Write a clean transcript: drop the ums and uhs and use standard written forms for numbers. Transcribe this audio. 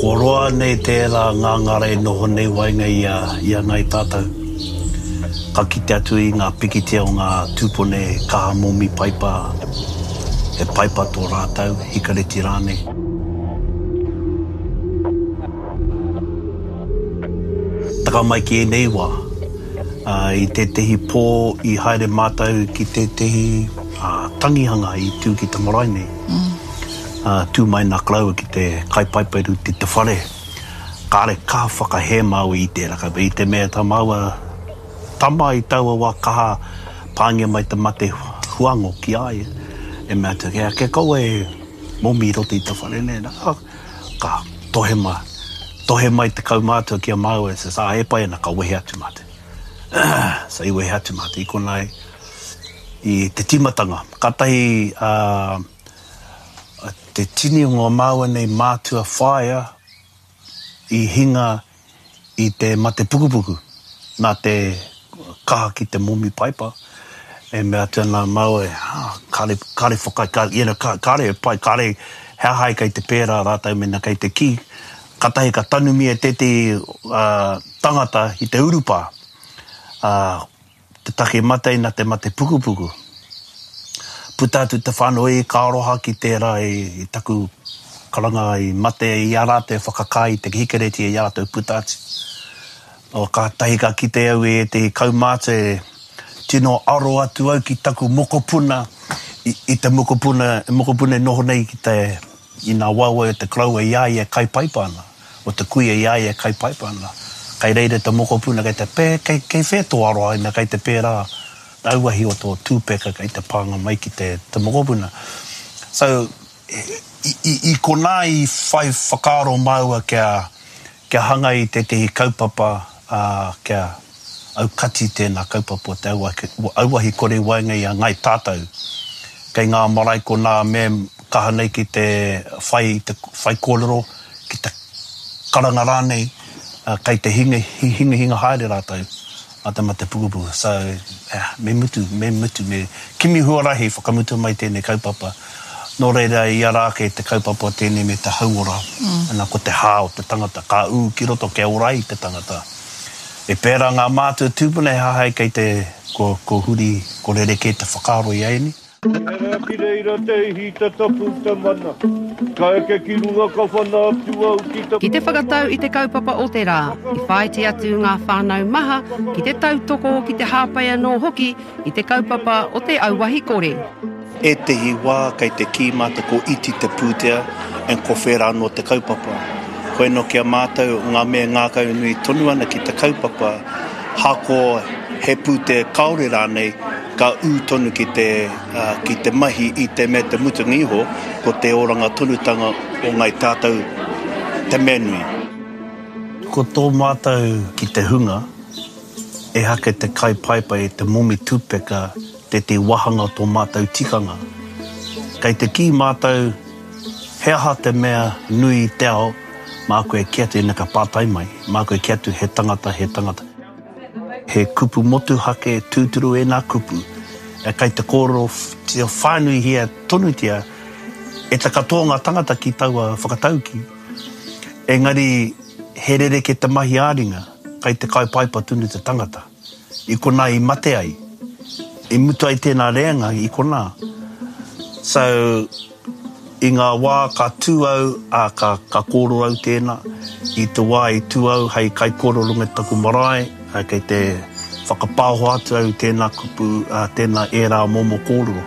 Kua roa nei tērā ngangara e noho nei waenga i a, i a Ngāi Tātou. Ka kite atu i ngā pikitia o ngā tūpune kaha momi paipa, he paipa tō rātou, hikareti rānei. Taka mai ki ēnei wā, i tētehi pō i haere mātou ki tētehi tangihanga i tū ki te marae nei. Tū mai nā koroua ki te kai paipa i te whare. Kāre kaha whakahē māua i tērā kaupapa, i te mea tā māua tama i taua wā kaha pāngia mai te mate huango ki a ia, e mea atu, kia, kia kaua e momi i roto i te whare nei, nā, ka tohe mai, tohe mai te kaumātua ki a māua, says, ā, e pai ana, ka wehe atu mātou. So i wehe atu mātou i konā i te tīmatanga. Kātahi, ā, Te tini o ngā māua nei mātua whaea i hinga i te mate pukupuku nā te kaha ki te momi paipa, e mea atu ana māua, kāre, kāre whakaae, kāre, you know, kāre e pai, kāre, he aha ai kei te pērā rātou mēnā kei te kī. Kātahi ka tanumia tētehi tangata i te urupā, ā, Te take mate ina te mate pukupuku. Puta atu te whanau i ka aroha ki tērā i taku karanga i mate i a rātou e whakakā i te hikereti i a rātou puta atu. O kātahi ka kite au i ētehi kaumātua e tino aro atu au ki taku mokopuna i te mokopuna, mokopuna e noho nei ki te I nā waewae o te koroua i a ia e kai paipa ana, o te kuia i a ia e kai paipa ana, kei reira te mokopuna kei te pē, kei, kei whea tō aroha ina kei te pērā te auahi o tō tūpeka kei te pānga mai ki te, te mokopuna. So, i, i, i konā i whai whakaaro māua kia, Kia hanga i tētehi kaupapa, ā, kia aukati tēnā kaupapa o te auahi kore i waenga i a Ngāi Tātou. Kei ngā marae konā me kaha nei ki te whai i te whaikōrero, ki te karanga rānei, kei te hingahinga haere rātou mā te mate pukupuku. So, me mutu, me mutu, me kimi huarahi whakamutua mai tēnei kaupapa. Nō reira, i ara ake te kaupapa o tēnei me te hauora, ana ko te hā o te tangata, ka ū ki roto kia ora ai te tangata. E pērā ngā mātua tūpuna he hahai kei te, kua, kua huri, kua rerekē te whakaaro i ēnei. He ki reira te ihi, te tapu, te mana. Ka eke ki runga ka whana atu au ki te. Ki te whakatau i te kaupapa o te rā, i whāiti atu ngā whānau maha ki te tautoko, ki te hāpai anō hoki i te kaupapa o te auahi kore. Ētehi wā kei te kī mātou ko iti te pūtea and ko whērā anō te kaupapa. Koe nō ki a mātou ngā mea ngākaunui tonu ana ki te kaupapa, hako he pūtea kāore rānei, ka ū tonu ki te, ki te mahi i te mea te mutunga iho, ko te oranga tonutanga o Ngāi Tātou te mea nui. Ko tō mātou ki te hunga, ehake te kai paepae, te momi tupeka tētehi wāhanga o tō mātou tikanga. Kei te kī mātou, he aha te mea nui i te ao, māku e kī atu, ina ka pātai mai, māku e kī atu he tangata, he tangata. He kupu motuhake tūturu ēnā kupu, kei te kōrerotia whānuihia tonutia e te katoa o ngā tangata ki taua whakataukī. Engari he rerekē te mahi ā-ringa, kei te kai paipa tonu te tangata. I konā i mate ai, i mutu ai tēnā reanga i konā. So, I ngā wā ka tū au, ā, ka, ka kōrero au tēnā. I te wā i tū au hei kaikōrero me taku marae, ā, kei te whakapāoho atu au i tēnā kupu, ā, tēnā ērā momo kōrero.